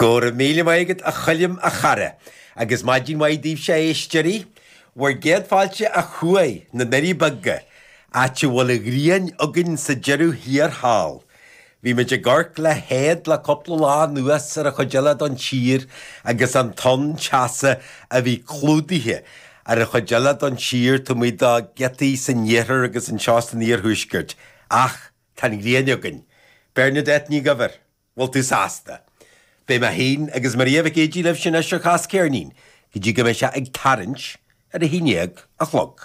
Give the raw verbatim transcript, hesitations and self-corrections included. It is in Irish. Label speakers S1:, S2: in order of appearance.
S1: Go raibh míle maith agat a Choilm a chara, agus maidin mhaith daoibhse a éisteoirí. Bhur gcéad fáilte a chuaigh na nDoirí Beaga, áit a bhfuil an ghrian againn sa deireadh thiar thall. Bhí muid ag amharc le héad le cúpla lá anuas ar an chuid eile don tír agus an tonn teasa a bhí clúdaithe ar an chuid eile don tír taobh amuigh de ghiotaí san iarthar agus anseo san iarthuaisceart. Ach tá an ghrian againn. Bernadette Ní Dhuibhir, bhfuil tú sásta? Beidh mé féin agus Maria Mhic Éadaigh libh sin anois ar Chas Ceirnín, go dtí go mbeidh sé ag tarraingt ar a haon déag a chlog.